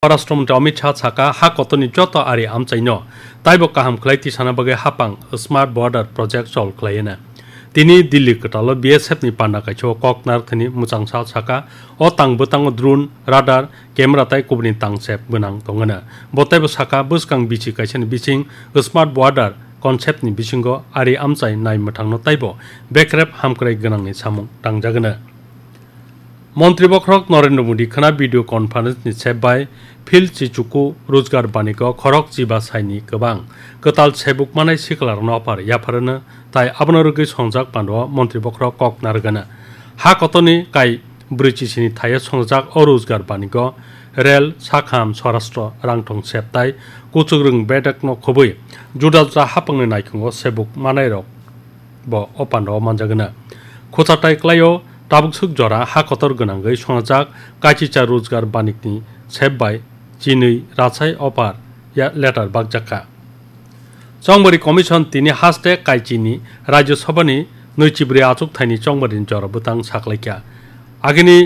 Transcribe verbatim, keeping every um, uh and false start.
Swarashtra Mantri Amit Shah saka, ha kotorni joto ari amchaino taibo kaham khlai tisana bagwi hapang Smart Border Project chol khlai hwnwi. Tini Delhi kwtalo B S F ni panda kaisa o kok narwkthani mwchangsa saka, o tang bwtango drone, radar, camera tai kubuni tangsep gwnang tongwino. Bo taibo saka, bwskang bichi kaisani bising Smart Border concept ni bisingo ari amchai nai mwthangno taibo bekrep hamkrai gwnangni samung tangjagwino. Montri bokhorok Narendra Modi khwna video conference ni sep bai Phil Chichuku Rojgar Banigo khorok chiba saini kwbang kwtal sebuk manai siklarno ophar yapharano tai abono rwgwi songjak pando montri bokhorok kok narwgana. Ha kotorni kai brwi chisini thaio songjak o Rojgar Banigo rel, sakham, swarashtra, rangthong sep tai kuchukrwng bedekno khobwi juda juda hapangni naikungo sebuk manairok bo o pandao manjagwna. Khuchatai klaio tabuk swk jora ha kotor gwnangwi songjak kachicha Rojgar Banikni sep bai chinwi rachai ophar ya letter bakjakha. Chongbari Commission tini haste kaichini Rajya Sabhani nwichibrwi achuk thaini chongbari jora bwtang saklaikha. Agini